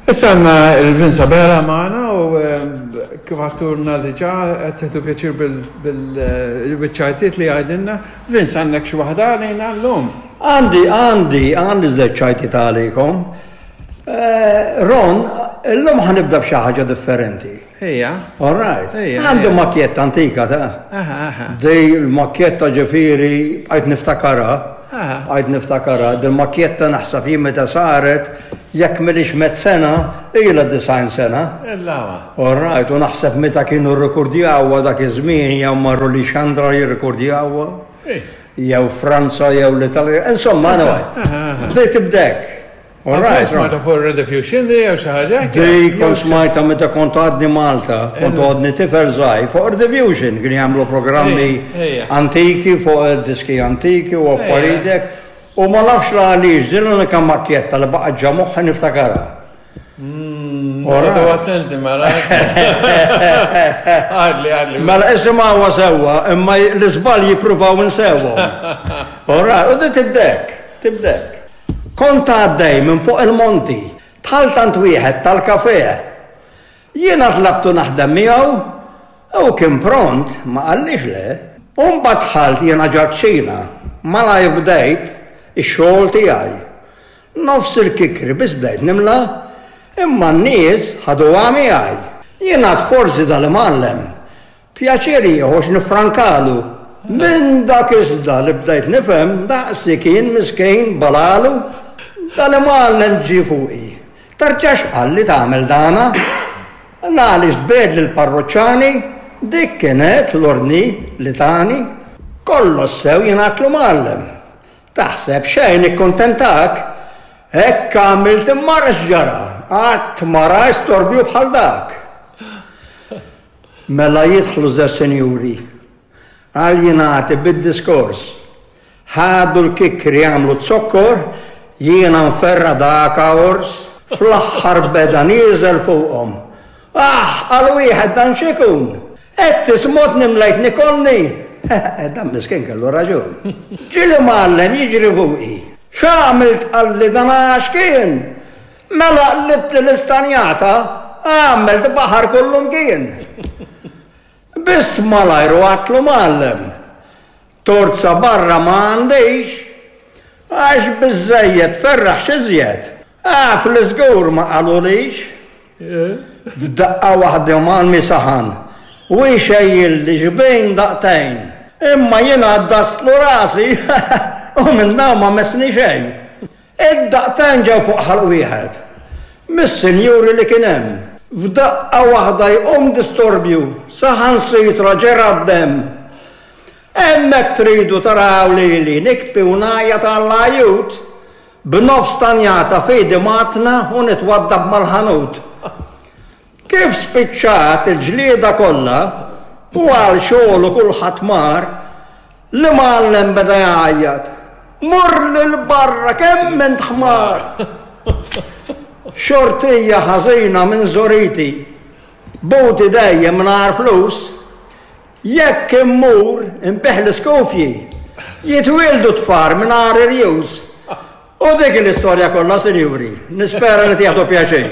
Issa għandna il-Vince Abela magħna u kif għatturna diġà qed tieħdu pjaċir bil-ċajtiet li għajdilna. Vince għandek xi waħda għalina llum? Għandi, għandi, għandi żewġ ċajtiet għalikom. Eh, Ron, illum ħanibda b'xi ħaġa differenti. Ejja. All right. Għandu makjetta antika ta' Dej il-makjetta ġifieri bqajt niftakarha. Bqajt niftakarha. Dil makjetta naħseb jien meta saret jekk milix met sena, ilha 90 sena. All right, u naħseb meta kienu rrekordjawha dak iż-żmien jew marru li xandra jirrekordjawha. Jew Franza jew l-Italja. Insomma, anyway. Bdejt ibdek. Alright. Smajta fuq Rediffusion di jew xi ħaġa? Di kont smajta meta kont għadni Malta, kont għadni tifel żgħir fuq Rediffusion kien jagħmlu programmi antiki fuq diski antiki u affarijiet hekk. U ma nafx la għaliex din l-unika makkjetta li baqgħet ġa moħħi niftakarha. Għadu attenti mela. Għadli, għadli. Mela isimgħuha sewwa, imma l-iżball jippruvaw insewhom. Alright, u di tibdek, tibdek. Kont għaddej minn fuq il-monti, dħalt għand wieħed tal-kafè. Jiena tlabtu naħdem miegħu u kien pront, ma qallix le. U mbagħad dħalt jiena ġad-kċina, malajr bdejt ix-xogħol tiegħi. Nofs il-kikri biss bdejt nimla, imma n-nies ħaduha miegħi. Jien għad forsi dal-imgħallem Pjaċir jieħu x'niffrankalu. Minn dak iżda li bdejt nifhem daqsi kien miskin balalu. Dan imgħallem ġie fuqi. Terġax qalli tagħmel dana. L-għaliex tbiegħed lill-parruċċani, dik kienet l-ordni li tani. Kollox sew jien għadtlu mgħallem. Taħseb xejn ikkuntentak? Hekk għamilt imma ara x'ġara, qatt ma rajt storbju bħal dak. Mela jidħlu żewġ sinjuri. Għal jingħati bid-diskors. Ħadu l-kikkri għamlu z-zokkor, jiena nferra' daka għors. Fl-aħħar beda nieżel fuqhom. Aħ, qal wieħed dan x'ikun? Qed tismotni mlejt nikolni? Dan miskin kellu raġun. Ġie l-imgħallem jiġri fuqi. X'għamilt qalli dan għax kien? Mela qlibtli l-istanjata, għamilt baħar kullumkien. Bist malajr u għadtlu mgħallem, Torza barra ma għandix, għax biżżejjed tferraħ x'iżjed. Af li żgur ma qalulix. F'daqqa waħda mgħallmi saħan u jxejjilli xbejn daqtejn. Imma jien għaddastlu rasi u minn dawn ma messni xejn. Id-daqtejn ġew fuq ħalq wieħed mis-sinjuri li kien hemm. F'daqqa waħda jqum distorbju, saħansitra ġera d-demm. Hemmhekk tridu taraw lili nikbi u ngħajjat għall-għajjut, b'nofs tanjata f'idi mgħattna u nitwaddab mal-ħanut. Kif spiċċat il-ġlieda kollha u għal xogħlu kulħadd mar, l-imgħallem beda jgħajjat, Mur 'l barra kemm int ħmar! Xortija ħażina minn żoriti, buti dejjem mingħajr flus, jekk immur inbigħ l-iskufji, jitwieldu tfar mingħajr irjus. U dik l-istorja kollha, sinjuri. Nispera li tieħdu pjaċir.